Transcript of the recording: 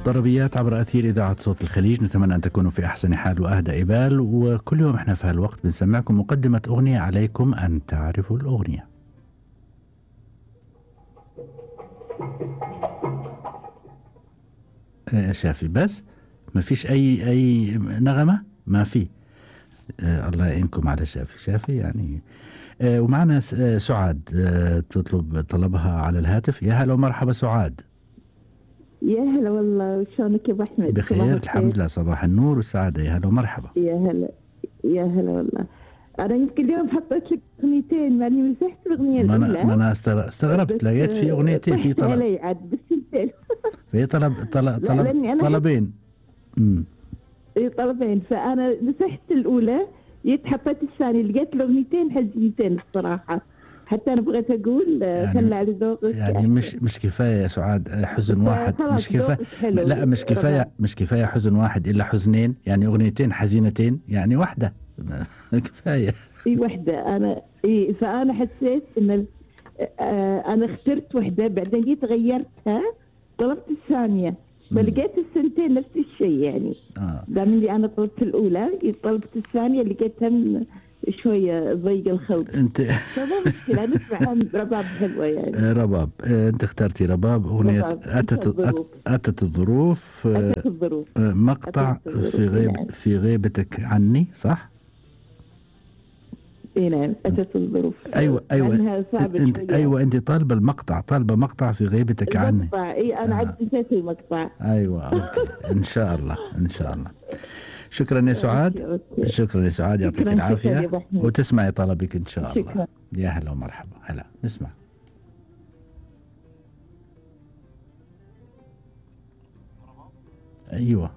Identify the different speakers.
Speaker 1: طربيات عبر أثير إذاعة صوت الخليج. نتمنى أن تكونوا في أحسن حال وأهدى إبال، وكل يوم إحنا في هالوقت بنسمعكم مقدمة أغنية عليكم أن تعرفوا الأغنية. شافي بس ما فيش أي نغمة، ما في. الله يعينكم على شافي يعني. ومعنا سعاد تطلب طلبها على الهاتف. يا هلا ومرحبا سعاد.
Speaker 2: يا هلا والله، شلونك يا ابو احمد؟
Speaker 1: بخير الحمد لله، صباح النور والسعاده. يا هلا ومرحبا.
Speaker 2: يا هلا يا هلا والله. انا يمكن اليوم حطيت لك اغنيتين ماني مسحت الاغنيه الاولى.
Speaker 1: ما انا استغربت، لقيت في اغنيتين، في طلب
Speaker 2: علي عاد بالسنتين.
Speaker 1: في طلبين.
Speaker 2: اي طلبين، فانا مسحت الاولى حطيت الثانيه، لقيت الاغنيتين حزينتين الصراحه، حتى انا بغيت اقول خلى على ذوقك.
Speaker 1: يعني مش كفايه يا سعاد حزن واحد، مش كفايه. لا مش كفايه حزن واحد الا حزنين، يعني اغنيتين حزينتين، يعني واحده كفايه.
Speaker 2: اي واحده. فانا حسيت ان انا اخترت واحده، بعدين جيت غيرتها طلبت الثانيه، فلقيت السنتين نفس الشيء يعني. دام اللي انا طلبت الاولى طلبت الثانيه لقيتها شويه ضيق الخلق.
Speaker 1: انت
Speaker 2: فما مشكله نسمع رباب حلوه يعني.
Speaker 1: رباب. انت اخترتي رباب، اغنيه اتت الظروف. مقطع في غيبتك عني، صح؟
Speaker 2: اي نعم، اتت الظروف.
Speaker 1: ايوه انت طالبه المقطع، طالبه مقطع في غيبتك عني.
Speaker 2: المقطع انا عاد نسيت المقطع.
Speaker 1: ايوه اوكي. ان شاء الله. شكرا يا سعاد. شكرا يا سعاد، يعطيك العافيه وتسمعي طلبك ان شاء الله. شكرا. يا هلا ومرحبا. هلا نسمع. ايوه